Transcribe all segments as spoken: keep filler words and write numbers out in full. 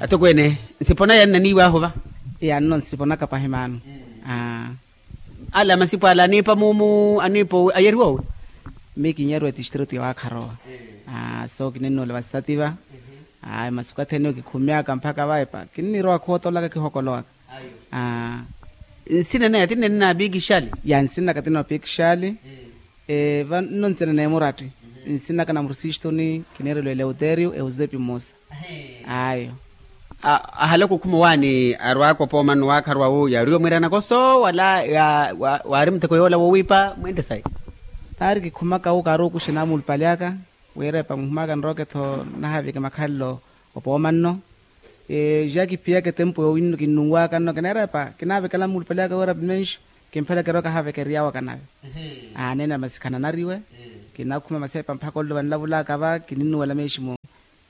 Atokweene, nsipona yanna niiwaahu va? Yanno nsiponaka pahi maano. Ala masipo ala aniipa muumu aniipa ayeriwa owi? Mii kinyeriwa etistritu ya waakharowa. So kininnuwela vasitati va. Ayo masiku athene kikhumyaka mpakha va epa kinnirowa khootolaka kihokolowaka. Nsina naye atinene na pikixali? Ya nsinaka tino pikixali. Vanno ntsina neemuratti. Nsinaka na mursistoni kineereliwa eleuterio eusepi mmosa. Ayo. Ahala okukhuma owaani arwaaka opooma nno waakharuwa wu yaariwa mwiira nakoso wala waari muteko yoola wowiipa mwente sayi? Taari kikhumaka wu kaari okuxena muulupali aka. Wira epa nkhumaka nroke-tho nahaavike makhalelo opooma nno. Ja kiphiyaka etempu yoowinno kinnunwaaka nno kineera epa kinaavekela muulupali aka wira pimenxo. Kimphela kiroka haaveke eriyaawo akanave. Aanene masi khananariwe. Kinakhuma masepa mpakha ollo vanlavulaka va kininnuwela meeximu.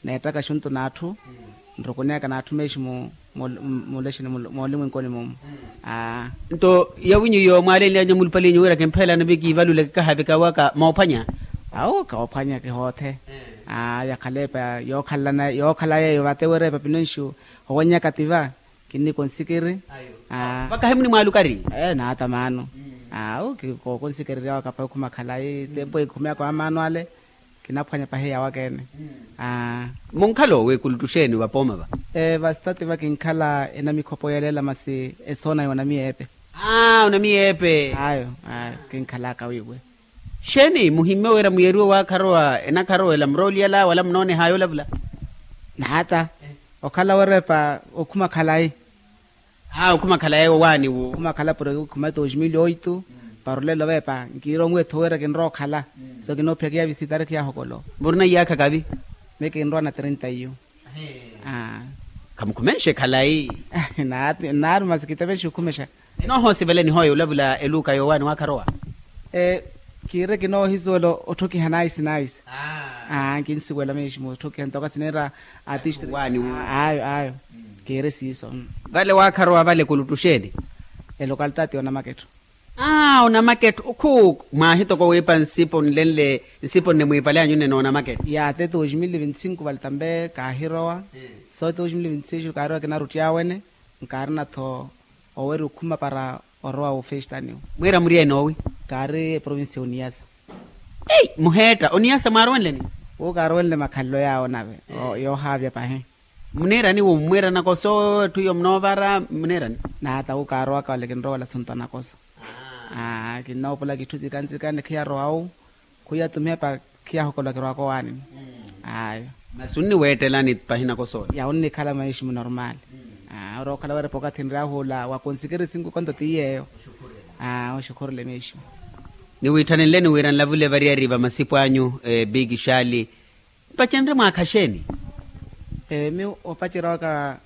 Neettaka xuntu n'atthu nrukuneyaka n'atthu meeximu. Mulexeni moolimwenkoni mumu. Nto yawinyu yoomo alenly'anyu mulupaliinyu wira kimphelana vi kiivalule kikahaveka waka moophwanya. Awo koophwanya kihoothe. Yakhala epa yookhalana yookhala yeeyo vate wira epa pinenxu. Owennyaka ti va kinnikonsikiri. Vakahi munimwaalukari? Naata maano. Awo kookonsikiri ryawaka pahi okhuma khalayi tempo ekhumyaka wa maano ale. Kinaphwanya pahi yawakeene. Munkhala owe kuluttu xeeni vapooma va? Vasitati va kinkhala enamikhopo yeeleela masi esoona y'onamiyeepe. Onamiyeepe. Ayo. Kinkhalaka wiiwe. Xeeni muhimme wira muyeriwe waakharowa enakharowela murooliyala wala munoonehaya olavula? Naata. Okhala wira epa okhuma khalayi. Aa okhuma khalayi owaani wu. Okhuma khalayi puro okhuma dois mil oito. Para olelo veepa nkiironwe etho wira kinrowa okhala. So kinoophiyaka iya visitari khiyahokolo. Murina iyaakha kavi? Miyo kinrowa na trinta iyo. Khamukhumenxe khalayi. Naaru masi kitevenxe okhumexa. Enoohoosivela enihooya olavula eluuka yoowaani waakharowa? Kiire kinoohisuwela otthokiha naisi naisi. Kinsuwela meeximu otthokiha ntoka sineera. Atisti ayo ayo. Kiire siiso. Vale waakharowa vale kuluttu xeeni? Elokalitaati yonamaketto. Aa onamaketto okhuuku mwaahitoko wiipa nsipo nlenle nsipo nne mwiipale anyu nne noonamaketto. Yaate dois mil e vinte cinco vale tambe kaahirowa. So dois mil e vinte cinco kaahirowa kinaruttyaawene. Nkaarina-tho owerya okhuma para orowa ofestaniwo. Mwiira muri ene owi? Kaari eprovinsi ya oniyasa. Ei muheetta oniyasa mwaarowenleni? Wu kaarowenle makhalelo yaawo nave. Yoohaavya pahi. Muniirani wu mmwiira nakoso etthu iyo munoovara muniirani? Naata wu kaarowaka wale kinrowela asunto anakoso. Kinnoopulaka itthu nzika nzika ni khiyarowa wu. Khuyatumiha pa khiyahokolwa kirowaka owaani. Ayo. Masi onniweettelani pahina kosoole? Ya onnikhala meeximu normaali. Ori okhala weerepa okathi nryahu ola wa konsikeri sinku konto ti yeeyo. Oxukhurele meeximu. Niwiitthanenleni wira nlavule variyari va masipu anyu. Biki xaali. Mpacenrye mwaakha xeeni? Miyo opacerya waka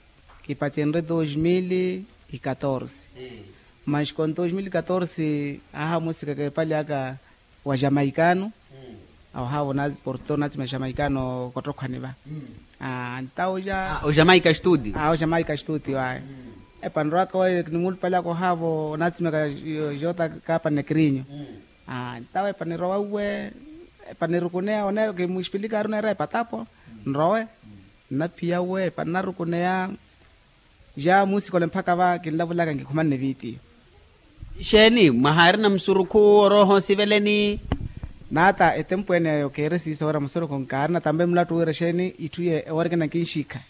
kipacenrye dos mil e katorse. Mas kon dos mil e katorse ahamusika keepali aka wa jamaikano. Awo haavo porto natsima jamaikano kottokhwani va. Ntawo ja ojamaika studio. Ojamaika studio ayo. Epanirowaka waya ni mulupali aka ohaavo natsimeka jota kapa nekrinyo. Ntawo epanirowauwe epanirukuneya oneera kimuxipilika ari oneera epatapo. Nrowe nnaphiya uwe epaninarukuneya. Ja muusikole mpakha va kinlavulaka nkikhumanne vitiyo. Xeeni mwahaarina musurukhu orooha osiveleni? Naata etempu ene eyo keere siiso wira musurukhu nkaarina tambe mulattu wira xeeni itthu ye eworikina nkinxikha.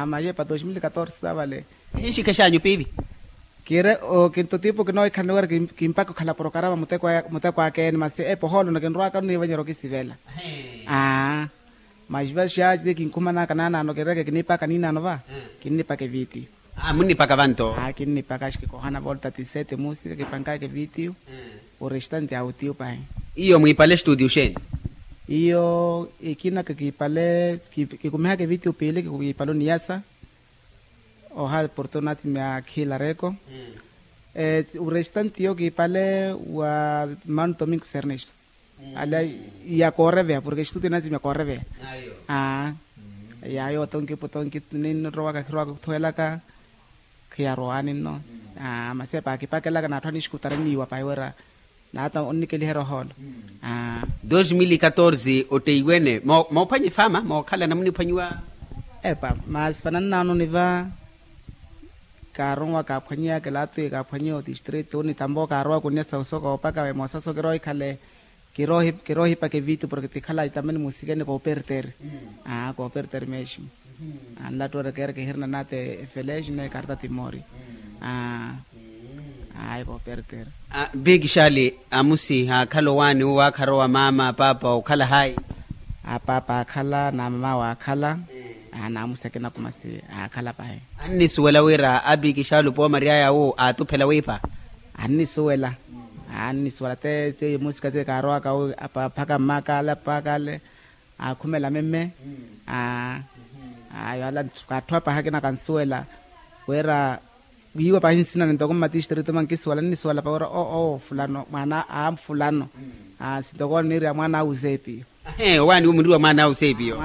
Maye pa dos mil katorse sa vale. Kinxikha xanyu piivi? Kiire kinto tipo kinoohikhanela wira kimpaka okhala porokarama muteko aka ene masi epohoolo nto kinrowaka oniivanyerya okisivela. Aa. Mas va xaaci ti kinkhumanaka naanaano kireke kinipaka niinaano va. Kinnipaka evitiyo. Munnipaka vanto? Kinnipaka axi kikohana volta tisete musika kipankaka evitiyo. Orestante autiyo pahi. Iyo mwiipale studio xeeni? Iyo ekina kikiipale kikumihaka evitiyo piili kikiipale oniyasa. Oha porto natsimya khiilareko. Orestante iyo kiipale wa mano tominko sernesto. Ala ya kooreveya porke estudio natsimya kooreveya. Aa. Yayo otonki otonki ninrowaka khirowaka khuthuwelaka. Khiyarowani nno. Aa masi epa kipakelaka n'atthu anixikutara eniiwa pahi wira. Naata onnikeliherya ohoolo. Aa. Dos mil katorse otteiwene moophwanya efaama mookhalana muniphwanyiwa? Epa, masi fanani naano niva kaaronwa kaaphwanyiya kilato kaaphwanyiya otistrito ni tampo kaarowa kunya sosoko opaka emosaso kiroohikhale. Kiroohipaka evitu porke tikhala itamani musikeni kooperter. Aa kooperter mesmo. Anlattu ori keera kihirina nate efeleji ne karta timori. Aa. Ayi kooperter. Bikixali amusi haakhala owaani uwo aakharowa maama paapa okhala hayi? Apaapa aakhala na mama waakhala. Aa naamusi akina kumasi aakhala pahi. Annisuwela wira abikixali opoomary'aya awo aatuphela wiipa? Annisuwela. Annisuwela te tsi musika tsi kaarowaka awo apaapa aka mmaakale apaakale. Aakhumela memme. Aa. Ayo ala kaatthuwa pahi akina kansuwela wira wiiwa pahi nsina nintoko mmatistrito mankisuwela nnisuwela pahi wira oo fulano mwaana a fulano. Sintoko niirya mwaana a usepi. Ahe owaani wo munriwa mwaana a usepi yo.